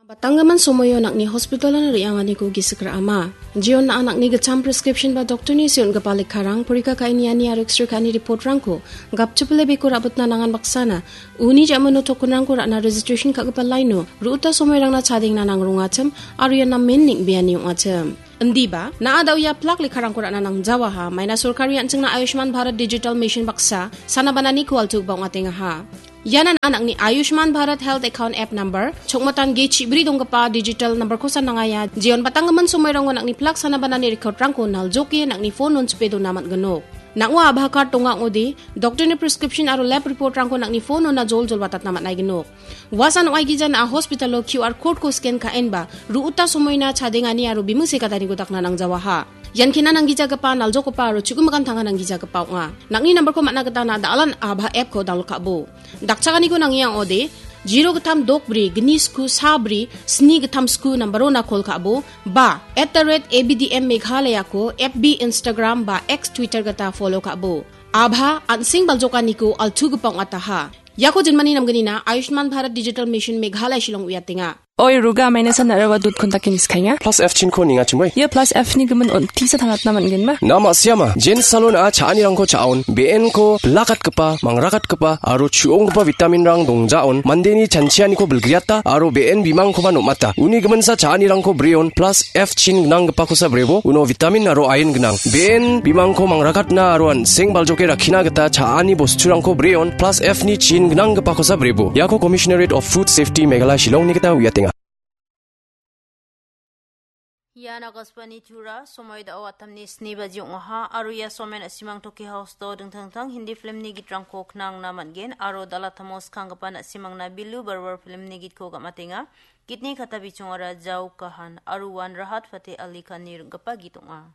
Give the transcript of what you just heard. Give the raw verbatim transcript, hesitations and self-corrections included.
Batanggimin somoio nang·ni hospitalon re·anganiko gisik ra·ama. Jeon na·a nang·ni gitcham prescription ba doktorni se on·gipa lekkarang, porika ka·e niani aro X-ray ka·ani reportrangko gapchipile beko ra·bitna nangan baksana, uni ja·mano tokenrangko ra·na registration ka·gipa laino, ru·uta somoirangna chadengna nangrongachim, aro ian namen neng·beani ong·achim. Indiba, na·a da·oia plak lekkarangko ra·na nangjawaha, maina sorkari an·chingna Ayushman Bharat Digital Mission baksa, sana bananiko altugipa ong·atengaha. Iana na·a nang·ni Ayushman Bharat Health Account App Number, chokmatan ge chibri donggipa digital number-kosa nangaia, jeon batanggimin somoirango nang·ni plak sana banani recordrangko naljoke nang·ni phone on chipe dona man·ginok. Nang·o Aadhaar card donga ong·ode, doktorni prescription aro lab reportrangko nang·ni phone ona jol jol watatna man·aiginok. Uasan ong·aigija na·a hospitalo Q R code-ko scan ka·enba, ru·uta somoina chadengani aro biming sekataniko dakna nangjawaha. Ian kena nanggijagipa, naljokgipa aro chu·gimikan tanga nanggijagipa ong·a. Nang·ni number-ko man·a gita na·a da·alan Aadhaar app-ko download ka·bo. Dakchakaniko nangia ong·ode, zero gittam dok bri, gni sku sa bri, sni gittam sku number-ona call ka·bo, ba, at the rate A B D M Meghalaya-ko F B, Instagram ba X, Twitter gita follow ka·bo. Aadhaar an·seng baljokaniko altugipa ong·ataha. Iako jinmani namgnina Ayushman Bharat Digital Mission Meghalaya Shillong uiatenga. Oi, Ruga, maina san na·a rawa dot kontaki niskainga. Plus F chinko ningachimoi. Ia plus F ni gimin on tisa tangatna man·genma? Na ma·siama, Jen Salon-a cha·anirangko cha·on, be·enko bilakatgipa, mangrakatgipa, aro chu·onggipa vitaminrang dongjaon, mandeni chanchianiko bilgriata, aro be·en bimangkoba nom·ata. Uni giminsa cha·anirangko breon, plus F chin gnanggipakosa brebo, uno vitamin aro iron gnang. Be·en bimangko mangrakatna aro an·seng baljoke rakkina gita cha·ani bosturangko breon, plus F ni chin gnanggipakosa brebo. Iako Commissionerate of Food Safety Meghalaya Shillongni gita uiatenga. Ian Akashvani Tura, somoi da·o atamni sni baji ong·aha, aro ia somen na·simang Toki House-o dingtang dingtang Hindi filmni gitrangko knangna man·gen, aro dal·atamo skanggipa na·simangna Bilu Barwar filmni gitko gam·atenga. Gitni kata bichongara Jao Kahan aro uan Rahat Fateh Ali Khan-ni ring·gipa git ong·a.